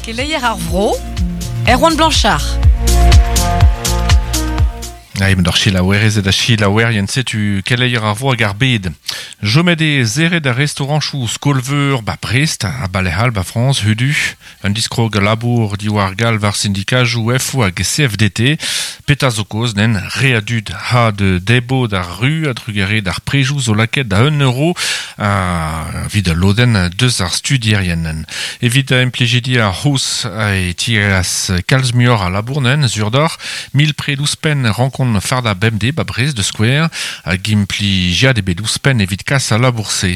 Keleier ar vro, Erwan Blanchard. Aim d'ar selaouerezed ha selaouerien setu keleier ar vro hag ar bed. Jomet eo serret ar restaoranchoù skol-veur ba Brest ha Balehal ba Frañs hudu. Un diskrog labour diwar galv ar sindikajoù FO hag CFDT. Petra zo kaoz nen re a dud ha de debo d'ar ru a-drugarez d'ar prejoù zo lakaet da un euro a evit al lodenn deus ar studierien. Evit implijidi ar c'hous e tireas kalz muioc'h a labour nen sur deoc'h. Mil pred ouzhpenn rankont fardañ bemdez ba Brest da skouer hag implijiad ebet ouzhpenn evit kas al labour-se.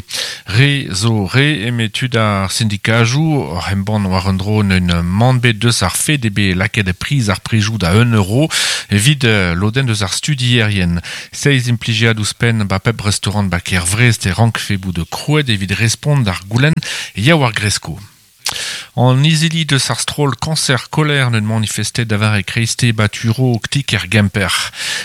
Re zo re eme tud ar sindikajoù oc'h embann war un dro un mann bet deus ar fed eo bet lakaet priz ar prejoù da un euro evit lodenn deus ar studierien. Seizh implijiad ouzhpenn ba pep restaurant ba kêr Vrest e rankfe bout krouet evit respont d'ar goulenn ya war gresko. An izili deus ar stroll Cancer Colère n'eus manifestet da vare kreiste ba Turo ktik er Gemper.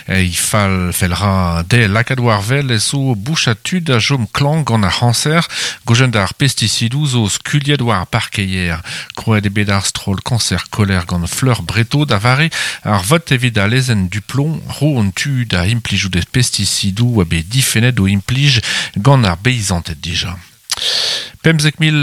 E fall fell ra dezhe lakaat war wel ez zo bouchad tud a chom klañv gant ar c'hañser gojen d'ar pestisidoù zo skuilhet war ar parkeier. Krouet eo bet ar stroll Cancer Colère gant Fleur Breto da vare ar vot evit al lezenn Duplomb ro an tu da implijout pestisidoù a bet difennet o implij gant ar beizanted dija. 15 mil,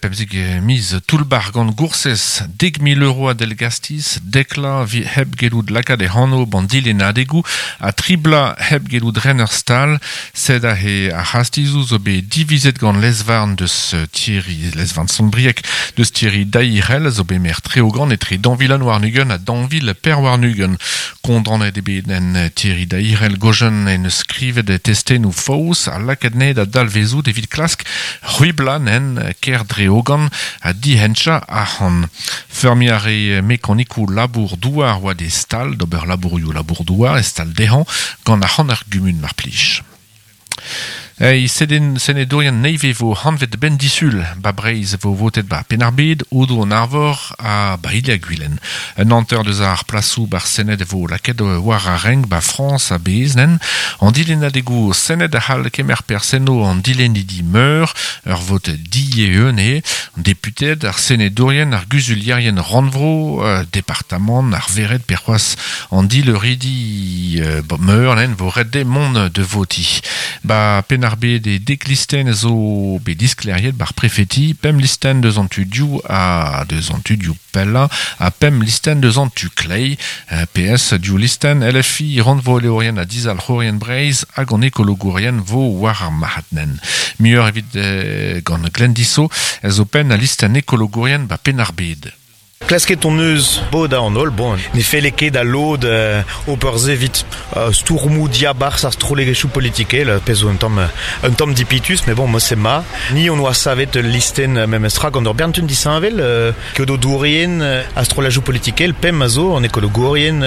15 miz toull-bac'h gant goursez, 10,000 euro a dell-gastiz, dek vloaz hep gellout lakaat e anv ban dilennadegoù ha tri bloaz hep gellout ren ur stal. Sed aze ar c'hastizoù zo bet divizet gant lez-varn deus Thierry, lez-varn Sant-Brieg deus Thierry Dairel zo bet maer Treogan etre 2021 ha 2024. Kondaonet eo bet en Thierry Dairel gojen en eus skrivet testennoù faos ha lakaet anezhe da dalvezout evit klask c'hwiblañ en kêr Dreogan ha dihenchañ arc'hant. Feurmiñ a rae mekanikoù labour-douar oa d'e stal d'ober labourioù labour-douar e stal dezhañ gant arc'hant ar gumun mar plij. Ei, seden senedourien nevez vo hanvet ben disul ba Breizh vo votet ba Penn-ar-Bed, Aodoù-an-Arvor ha ba Il-ha-Gwilen. Un hanter deus ar plasoù bar Sened vo lakaet war ar renk ba Frañs a-bezh nen. An dilennadegoù Sened a c'hall kemer perzh enno an dilennidi meur, ur vot dieeun eo, an deputeed, ar senedourien, ar guzulierien rannvro, departamant, ar vered pe c'hoazh an dileuridi meur nen vo ret dezhe mont da votiñ. Ba Penn-ar-Bed e dek listenn zo bet disklêriet bar prefeti, pemp listenn deus an tu dioù ha deus an tu dioù pellañ ha pemp listenn deus an tu kleiz. PS div listenn, LFI, rannvroelourien ha dizalc'hourien Breizh hag an ekologourien vo war ar marc'had nen. Muioc'h evit gant Glenn Dissau zo penn al listenn ekologourien ba Penn-ar-Bed. Klasket hon eus bodañ an holl, bon, ne felle ket da lod ober se evit stourmoù diabarzh ar strollegezhioù politikel, pezh zo un tamm un tamm dipitus, met bon, mod-se 'ma. Ni hon oa savet ul listenn memestra gant ur bern tud disheñvel, keodedourien ha strollajoù politikel, pemp a zo, an ekologourien,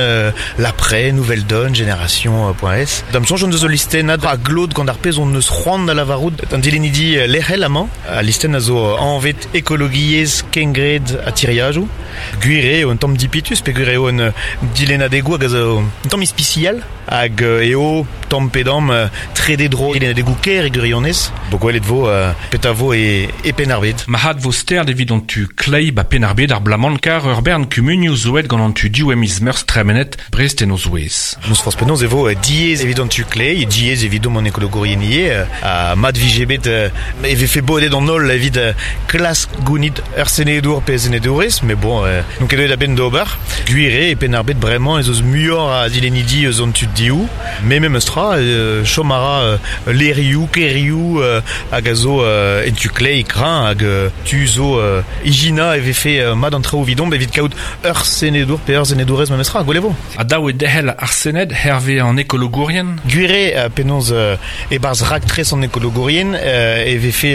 L'Après, Nouvelle Donne, Génération.s. Da'm soñj hon deus ul listennad a glot gant ar pezh hon eus c'hoant da lavarout d'an dilennidi lec'hel amañ. Al listenn a zo anvet Ekologiezh, kengred ha tiriadoù. Gwir eo un tamm dipitus peogwir eo un dilennadegoù hag a zo un tamm ispisial hag eo tamm pe damm trede dro dilennadegoù kêr e gwirionez. Bo gwelet vo petra vo e, e Penn-ar-Bed. Marc'had vo stert evit an tu kleiz ba Penn-ar-Bed ar bloaz-mañ kar ur bern kumunioù zo aet gant an tu div e miz Meurzh tremenet, Brest en o zouez. N'eus forzh penaos e vo diaes evit an tu kleiz, diaes evidomp an ekologourien ivez. Ha mat vije bet e vefe bodet an holl evit klask gounit ur senedour pe senedourez, met bon, n'on ket deuet a-benn d'ober. Gwir eo, e Penn-ar-Bed bremañ ez eus muioc'h a dilennidi eus an tu dehou, met memes tra, chom a ra levrioù, kêrioù hag a zo en tu kleiz kreñv hag tu zo ijinañ e vefe mat an traoù evidomp evit kaout Ur senedour pe ur senedourez memestra, gwell e vo. Ha dav eo derc'hel ar Sened hervez an ekologourien? Gwir eo penaos e-barzh raktres an ekologourien e vefe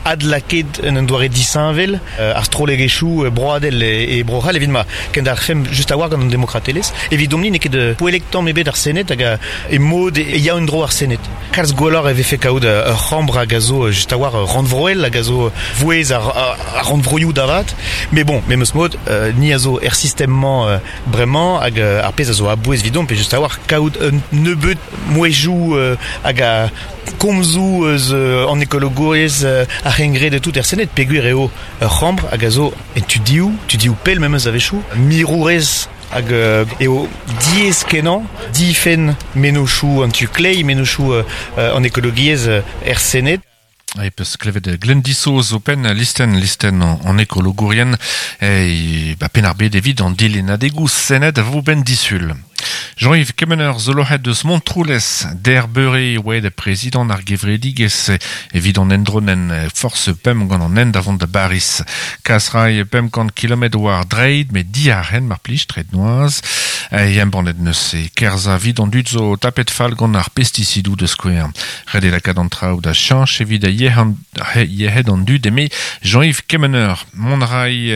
adlakaet en un doare disheñvel ar strollegezhioù broadel e Bro-C'hall evit ma kendalc'hfemp just a-walc'h gant an demokratelezh. Evidomp-ni n'eo ket poellek tamm ebet ar Sened hag e mod e ya en-dro ar Sened. Kalz gwelloc'h e vefe kaout ur c'hambr hag a zo just a-walc'h rannvroel hag a zo vouezh ar rannvroioù da vat. Met bon, memes mod, ni a zo er sistem-mañ bremañ hag ar pezh a zo a-bouez evidomp eo just a-walc'h kaout un nebeud mouezhioù hag a komzoù eus an ekologouriezh, ar c'hengred ha tout er Sened peogwir eo ur c'hambr hag a zo en tudioù, tudioù pell memes a-wechoù, mirourez hag eo diaes-kenañ difenn mennozhioù an tu kleiz, mennozhioù an ekologiezh er Sened. E peus klevet Glenn Disoz o penn listenn listenn an ekologourien e ba Penn-ar-Bed evit an dilennadegoù Sened a vo benn disul. Jean-Yves Kemener zo loc'het deus Montroulez der beure e oa prezidant ar gevredigezh evit an endronen forzh pemp gant an hent da vont da Bariz. Kas ray 500 kilometr war dreid met diarc'hen mar plij treid noazh. E embannet neus e kerzhañ evit an dud zo tapet fall gant ar pestisidoù da skouer. Ret eo lakaat an traoù da cheñch evit yec'hed an dud eme Jean-Yves Kemener. Mont a ray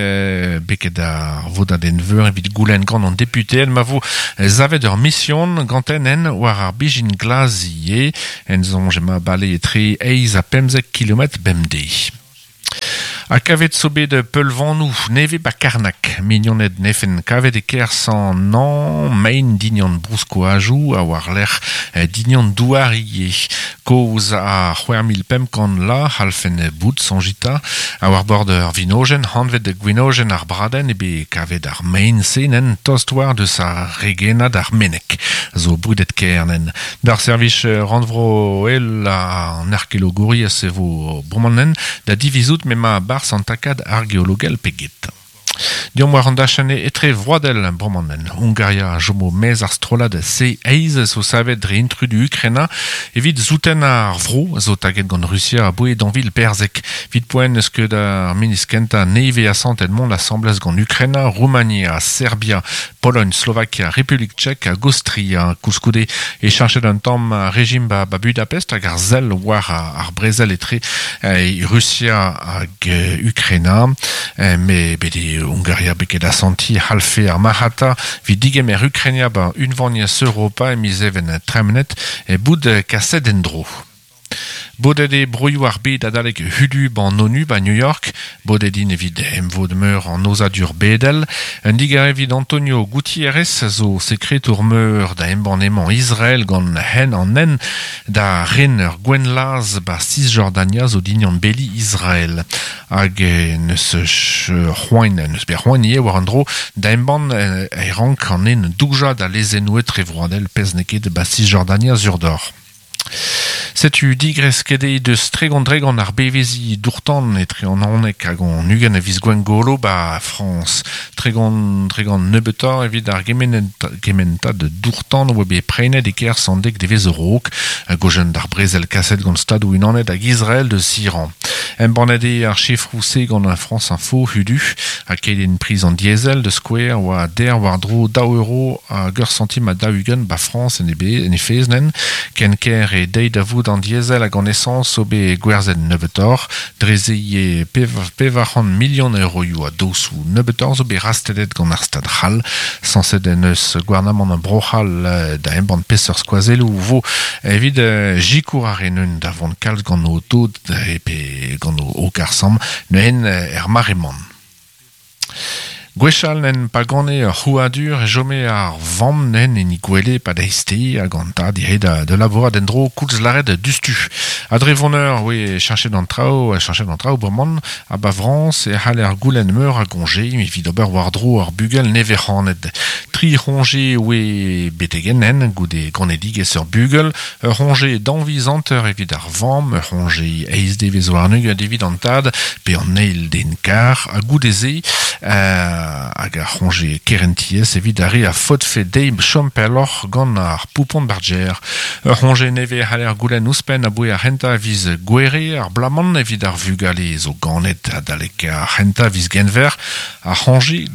beket ar vodadenn-veur evit goulenn gant an deputeed ma vo savet ur mision ganten en war ar bezhin glas ivez. En soñj emañ bale etre eizh ha 15 kilometr bemdez. Ha kavet zo bet peulvanoù nevez 'ba Karnag. Mignoned 'nefen kavet e-kerzh an hañv mein dignan brouskoajoù ha war-lerc'h dignan douar ivez. Kozh ha 6500 la c'hallfen bout soñjita. Ha war bord ur vinojenn hanvet gwenojenn ar bradenn eo bet kavet ar mein-se nen tost war deus ar regennad ar Meneg zo brudet kaer nen. D'ar servij rannvroel an arkeologouriezh e vo bremañ da divizout m'emañ a-barzh an takad argeologel pe get. Deomp war an dachenn etrevroadel bremañ. Hungaria a chomo maez ar strollad C-Eiz zo savet dre intrudu Ukraina evit souten ar vro zo taget gant Rusia aboe dañvil perzek. Evit poent n'eus ket ar ministr kentañ nevez asantet mont asambles gant Ukraina, Roumania, Serbia, Pologn, Slovakia, Republik Tchek hag Aostria. Koulskoude e cheñchet un tamm ar rejim ba Budapest hag ar sell war ar brezel etre Rusia hag Ukraina. Met bet eo Hungaria bet ket asantiñ c'hallfe ar marc'hata evit digemer Ukraina ba Unvaniezh Europa e miz Even tremenet bout kaset en-dro. Bodet eo broioù ar bed adalek hudu 'ban ONU 'ba New York. Bodet int evit emvod-meur an aozadur bedel. Un digarez evit Antonio Gutiérrez zo sekretour-meur da embann emañ Israel gant hen an hent da ren ur gouennlazh 'ba Cisjordania zo dignan beli Israel. Hag neus c'hoant neus bet c'hoant ivez war an dro da embann e rank an den doujañ da lezennoù etrevroadel pezh n'eo ket 'ba Cisjordania sur deoc'h. Setu digresket eo deus 30% ar beveziñ dour-tan etre an 11 hag an 20 a viz Gwengolo 'ba Frañs. 30% nebeutoc'h evit ar gementad dour-tan oa bet prenet e-kerzh an dek devezh a-raok, a-gojenn d'ar brezel kaset gant Stadoù-Unanet hag Israel deus Iran. Embannet eo ar sifroù-se gant France Info hudu ha kelenn priz an diesel da skouer oa der war-dro daou euro hag ur santim ha 40 'ba Frañs en he fezh nen. Ken ker eo deiz da vout an diesel hag an esañs zo bet gwerzhet nebeutoc'h. Dre se ivez 400 milion euroioù a dosoù nebeutoc'h zo bet rastellet gant ar Stad c'hall. Sañset en deus gouarnamant Bro-C'hall da embann peseurt skoazelloù 'vo evit sikour ar re neun da vont kalz gant o dod pe gant o karr-samm neuze er mare-mañ. Gwechall en pa gane ur c'hrouadur e chome ar vamm nen en he gwele e-pad eizhteiz hag an tad ivez da labourat en-dro koulz lâret diouzhtu. Ha dre voneur oe cheñchet an traoù, cheñchet an traoù bremañ ha 'ba Frañs e c'haller goulenn meur a goñje evit ober war-dro ar bugel nevez-c'hanet. Tri c'hoñje oe betek henn goude ganedigezh ur bugel, ur c'hoñje daou viz hanter evit ar vamm, ur c'hoñje eizh devezh warn-ugent evit an tad pe an eil den kar, ha goude-se hag ar c'hoñje kerentiezh evit ar re a faotfe dezhe chom pelloc'h gant ar poupon barger. Ur c'hoñje nevez a c'haller goulenn ouzhpenn aboe ar c'hentañ a viz Gouere ar bloaz-mañ evit ar vugale zo ganet adalek ar c'hentañ a viz Genver ar c'hoñje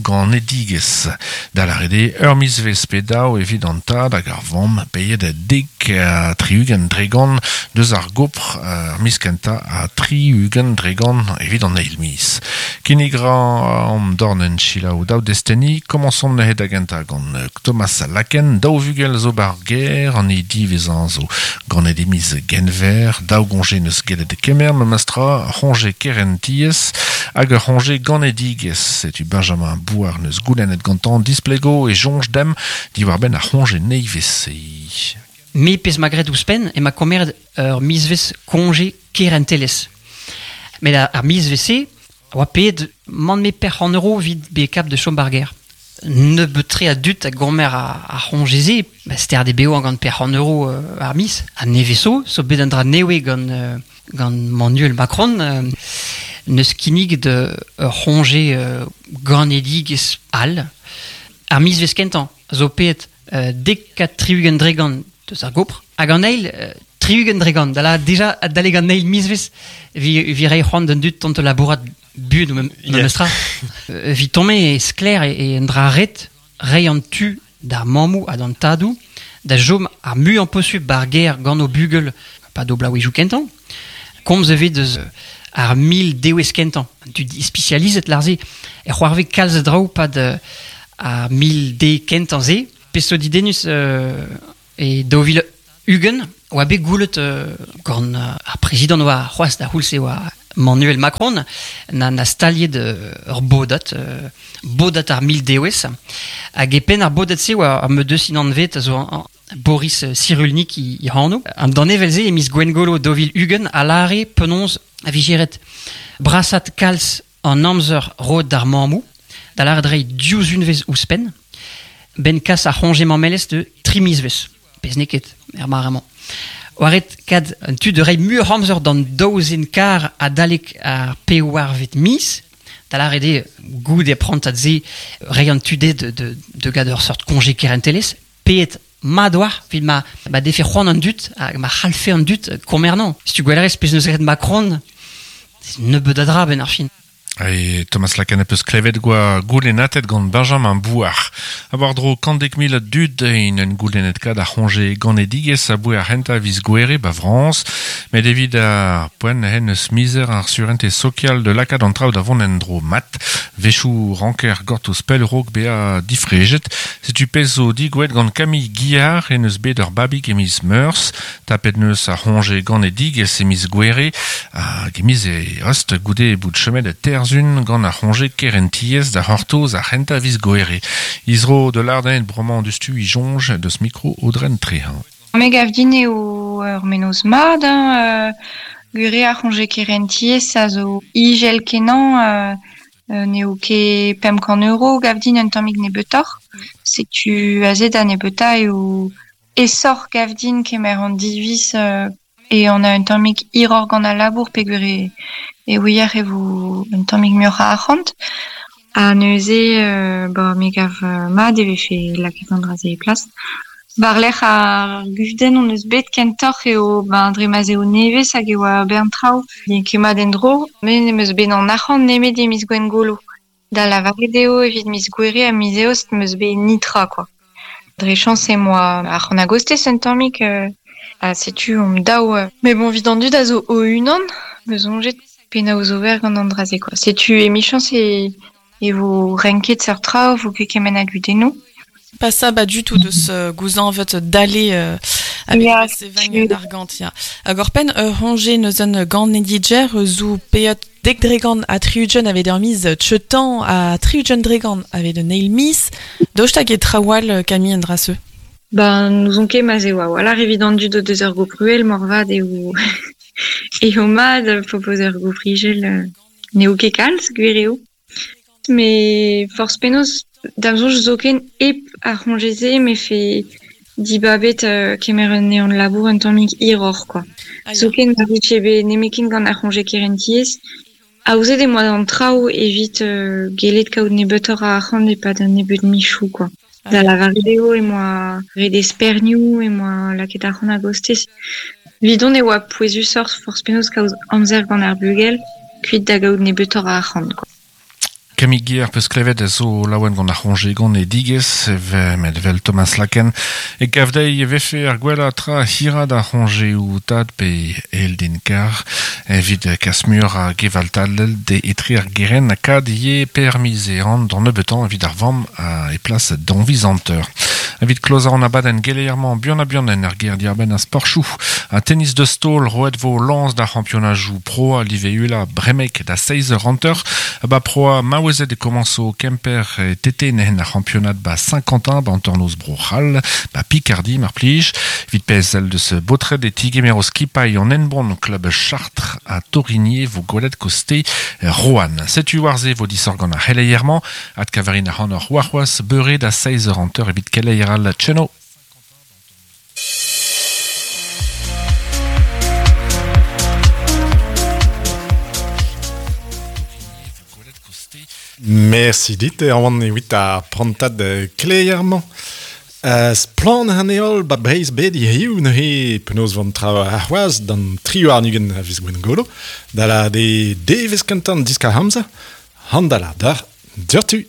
ganedigezh, da lâret eo ur mizvezh pe daou evit an tad hag ar vamm paeet 70% deus ar gopr ar miz kentañ ha 60% evit an eil miz. Kinnig ra an dorn en chilaou daou desteni, komañsomp neuze da gentañ gant Thomas Laken, daou vugel zo bar ger, an e divezan zo ganet e miz Genver, daou goñje neus gellet kemer memestra, c'hoñje kerentiez hag ur c'hoñje ganedigezh. Setu Benjamin Bouard neus goulennet gantañ displego e soñj demp diwar-benn ar c'hoñje nevez-se. Me pezh 'ma graet ouzhpenn ema komeret ur mizvezh koñje kerentelezh. Met ar mizvezh-se a oa paeet mann-me perc'h euro evit bezañ kap da chom ba'r gêr. Nebeut-tre a dud a gomer ar c'hoñje-se, ba sterd eo bevañ gant perc'h euro ar miz. Ha nevez zo, zo bet un dra nevez gant gant Manuel Macron, neus kinniget ur c'hoñje ganedigezh all. Ar mizvezh kentañ zo paeet 70 deus ar gopr. Hag an eil, 60, da lâret deja adalek an eil mizvezh vi reiñ c'hoant d'an dud tont da labourat buan memes tra. Eviton-me eo sklaer eo un dra ret reiñ an tu d'ar mammoù ha d'an tadoù da chom ar muiañ posupl ba'r gêr gant o bugel pa d'o bloavezhioù kentañ. Komz evit eus ar 1000 dewezh kentañ. An tud ispisializet lâr-se e c'hoarvez kalz a draoù 'pad ar 1000 de kentañ-se. Pezh zo didennus e 2020 oa bet goulet gant ar prezidant oa c'hoazh da c'houlz-se oa Manuel Macron na staliet ur bodad, bodad ar 1000 dewezh. Hag e penn ar bodad-se oa ar meudeusin anvet a zo Boris Cyrulnik e anv. An danevell-se e miz Gwengolo 2020 a lâre penaos a vije ret brasat kalz an amzer roet d'ar mammoù, da lâret reiñ div unvezh ouzhpenn, 'benn kas ar c'hoñje mammelezh de tri mizvezh, pezh n'eo ket er mare-mañ. Oa ret kad an tu da reiñ muioc'h amzer d'an daou zen kar adalek ar pevarvet miz, da lâret eo goude prantad-se reiñ an tu dezhe de gad ur seurt koñje kerentelezh, paeet mat oa evit ma defe c'hoant an dud hag ma c'hallfe an dud komernañ. Setu gwellerez pezh neus graet Macron, nebeut a dra benn ar fin. E Thomas Lacan peus klevet goa goulennatet gant Benjamin Bouard. Ha war-dro 110 000 a dud int un goulennet kad ar c'hoñje ganedigezh aboe ar c'hentañ viz Gouere ba Frañs. Met evit ar poent hen eus mizer ar surentez sokial da lakaat an traoù da vont en-dro mat. Wechoù ranker gortoz pell raok bezañ difrejet. Setu pezh zo digouet gant Camille Guillard en eus bet ur babig e miz Meurzh. Tapet neus ar c'hoñje ganedigezh e miz Gouere hag e miz Eost goude bout chomet e Terzun gant ar c'hoñje kerentiezh da c'hortoz ar c'hentañ viz Gouere. Izro de Lardin bremañ diouzhtu e soñj deus mikro Aodren Trehañ. Me gav din eo ur mennozh mat hein, gwir eo ar c'hoñje kerentiezh a zo ijel-kenañ N'eo ket 500 euro gav din un tammig nebeutoc'h. Setu aze da nebeutañ eo aesoc'h gav din kemer an diviz e on a un tammig hiroc'h gant al labour peogwir e ouier e vo un tammig muioc'h a arc'hant. Ha neuze ba me gav mat e vefe lakaet an dra-se e plas. War-lerc'h ar gudenn hon eus bet kentoc'h eo ben dre ma'z eo nevez hag e oa bern traoù n'eo ket mat en-dro. Me n'em eus bet an arc'hant nemet e miz Gwengolo. Da lavaret eo evit miz Gouere ha miz Eost 'm eus bet netra kwa. Dre chañs em boa arc'hant a-gostez un tammig ha setu omp daou. Mais bon evit an dud a zo o-unan 'm eus soñjet penaos ober gant an dra-se kwa. Setu emichañs e vo renket seurt traoù, 'vo ket kement a gudennoù. Pas ça ba du tout deus gouzañvet dale avec sevañ an argant ya. Hag oc'hpenn ur c'hoñje neus un ganediger zo paeet dek dregant ha 60 aveit ur miz cheutañ ha 60 dregant aveit un eil miz. Daoust hag e traoù all Camille an dra-se? Ben n'ouzon ket ma'z eo a-walc'h evit an dud o deus ur gopr-uhel moarvat eo eo mat propoz ur gopr-ijel n'eo ket kalz, gwir eo. Met forzh penaos, da'm soñj zoken hep ar c'hoñje-se 'mefe dibabet kemer un ehan-labour un tammig hiroc'h kwa. Zoken ma vije bet nemetken gant ar c'hoñje kerentiezh, aozet em boa an traoù evit gellet kaout nebeutoc'h a arc'hant e-pad un nebeud michoù kwa. Da lavaret eo em boa ret espernioù, em boa lakaet arc'hant a-gostez. Evidon e oa pouezusoc'h forzh penaos kaout amzer gant ar bugel kuit da gaout nebeutoc'h a arc'hant kwa. Camille Guer peus klevet zo laouen gant ar c'honje gant e digez, met vel Thomas Laken. E gavdei e vefe ar gwella tra hira da c'honje ou tad pe eldin kar, evit kasmur a gevaltadel de etre ar geren a kad ye permise an d'an nebetan evit ar vamm a e plas d'anvizanteur. Evit kloza an abadenn geleier-mañ buan ha buan en ar ger diarbenn a sporchou. A tennis de stol roet vo lans da championajou pro a live ula bremek da 16 hanter. Ba proa maouezet e komanso Kemper e tete nehen ar championat ba Saint-Quentin ba antornoz bro c'hall ba Picardie mar plij. Vit pezh deus botred e tigemero skipailh an enbon klub Chartres a Torigné vo gwelet koste Roanne. Setu war-ze vo disor gant ar c'heleier-mañ ad kavarin ar c'han ur warc'hoaz beure da 16 hanter evit keleier al tcheno. Merci dit, Erwan evit ar prantad kleier-mañ. Splann an heol ba Breizh bet hiziv neuze penaos van tra ar c'hoazh d'an tri warn-ugent a viz Gwengolo, da la de devezh kentañ diskar amzer, handala d'ar dioc'htu.